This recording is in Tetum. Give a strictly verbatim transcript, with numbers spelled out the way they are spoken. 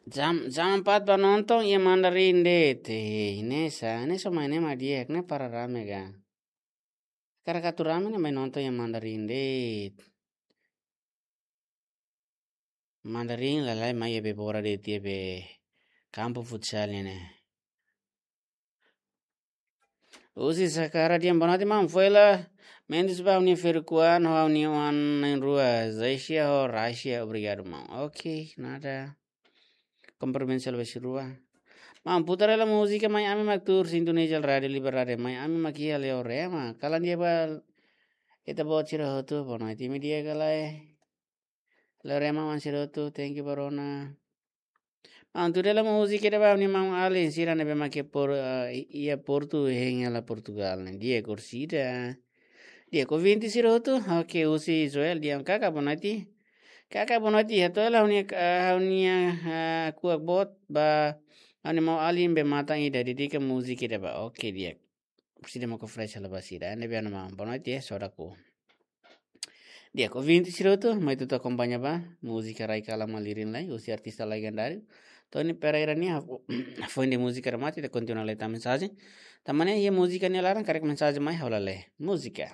Jam, jam empat ba nonton iha Mandarin de'it. Eh, ne'e sá, ne'e só mai ne'e mak di'ak, ne'e para rame ka. Hakarak atu rame ne'e mai nonton iha Mandarin de'it. Mandarin lalais mai iha be bora de'it iha be kampu futsal ne'e. Husi Sakara di'ak, boa noite maun. Foin hela mensajen ba ha'u-nia ferik-oan, ha'u-nia oan na'in-rua, Zaisia ho Raisia, obrigadu maun. Ok, nada. Komprimentu selebes rua. Maun, putar hela múzika Mai Ami Mak tuur, sintoniza Rádiu Liberdade, Mai Ami Mak iha Leorema. Kalan di'ak ba ita-boot sira hotu, boa noite, imi di'ak ka lae? Leorema maun sira hotu, thank you ba rona. Maun, tuur hela múzika ida ba ha'u-nia maun-alin sira ne'ebé mak iha Por-, eh, iha Portu, hein, hela Portugal ne'e. Di'ak, orsida. Di'ak, ouvinte sira hotu. Ok, husi Joel, di'ak, kaka boa noite. Kaka boa noite, hato'o hela ha'u-nia, eh, ha'u-nia, eh, kuak boot ba ha'u-nia maun-alin be matan ida, dedika múzika ida ba. Ok, di'ak. Orsida mak fresh hela ba sira. Ne'ebé anu maun, boa noite, eh, saudade ku. Di'ak, ouvinte sira hotu, mai ita atu akompaña ba múzika Rai Kalan Malirin Lai, husi artista legendáriu Tony Pereira nian, fo-, foin de'it múzika remata, ita kontinua lee tan mensajen. Tanba ne'e iha múzika nia laran, karik mensajen mai ha'u la lee. Múzika.